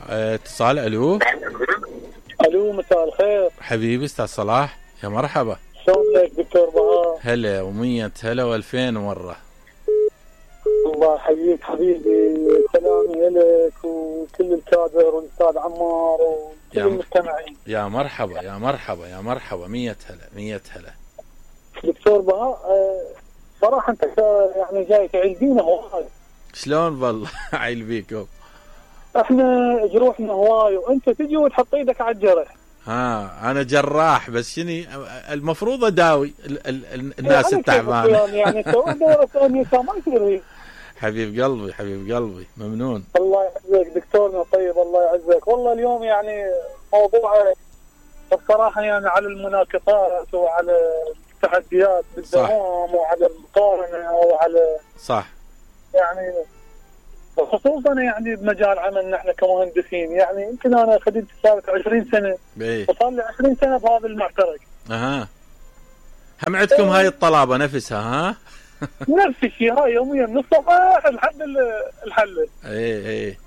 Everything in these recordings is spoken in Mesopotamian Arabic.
اتصال. الو الو، مساء الخير حبيبي استاذ صلاح، يا مرحبا. شلونك دكتور بهاء؟ هلا ومية هلا والفين مرة. الله يحييك حبيبي، سلامي لك وكل الكادر والاستاذ عمار وكل المستمعين. يا مرحبا يا مرحبا يا مرحبا، مية هلا مية هلا. دكتور بهاء، صراحة انت يعني جاي تعيدينا هواي. شلون والله عيل بيكم؟ احنا جروحنا هواي وانت تجي وتحط ايدك على الجرح. انا جراح بس شني المفروض اداوي الناس التعبانه. يعني سوي دورة ثانية ما يصير. حبيب قلبي حبيب قلبي، ممنون. الله يعزك دكتورنا طيب، الله يعزك. والله اليوم يعني موضوع الصراحة يعني على المناقصات وعلى التحديات بالدوام وعلى المقارنة وعلى صح، يعني خصوصا يعني بمجال عملنا احنا كمهندسين. يعني يمكن انا خدمت صارت 20 سنة وصار لي 20 سنة بهذا المعترك. هم عندكم هاي الطلابة نفسها؟ ها نفس الشيء، هاي يوميا من الصباح لحد الحل. ايه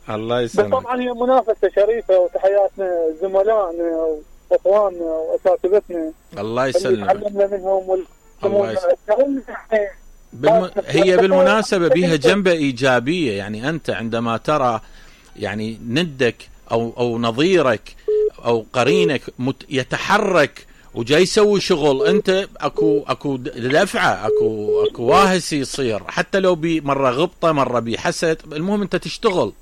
الله يسلمك. بس طبعا هي منافسة شريفة، وتحياتنا زملائنا واخواننا واساتذتنا الله يسلمك، تعلمنا منهم هي بالمناسبة بها جنبة إيجابية. يعني أنت عندما ترى يعني ندك أو نظيرك أو قرينك يتحرك وجاي يسوي شغل، أنت أكو دفعة، أكو واهس يصير، حتى لو مرة غبطة مرة بحسد، المهم أنت تشتغل.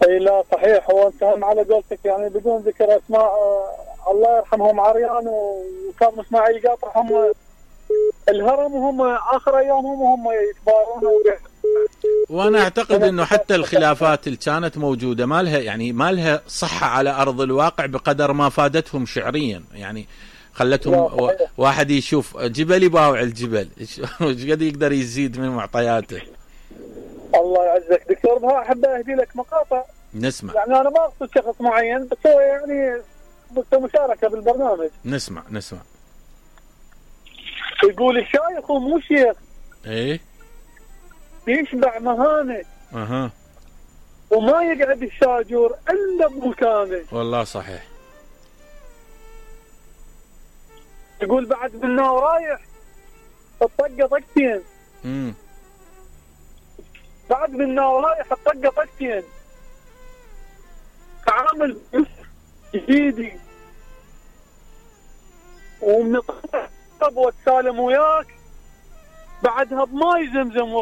اي لا صحيح. هو انت هم على قولتك يعني بدون ذكر اسماء، الله يرحمهم عريان وكاظم اسماعيل قاطع، هم الهرم وهم اخر ايامهم وهم يتبارون. وانا اعتقد انه حتى الخلافات اللي كانت موجوده ما لها صحه على ارض الواقع بقدر ما فادتهم شعريا. يعني خلتهم واحد يشوف جبل يباوع الجبل، ايش قد يقدر يزيد من معطياته. الله يعزك دكتور بهاء، احب اهدي لك مقاطع نسمع. يعني انا ما اقصد شخص معين، بس هو يعني مشاركه بالبرنامج. نسمع. يقول الشايخ ومو شيخ ايه يشبع مهانه وما يقعد الشاجور الا بمكانه. والله صحيح. يقول بعد منا ورايح الطقه طقتين. بعد منا ورايح الطقه طقتين، تعامل جديدي ومن طب واتسالم وياك بعدها بماي زمزم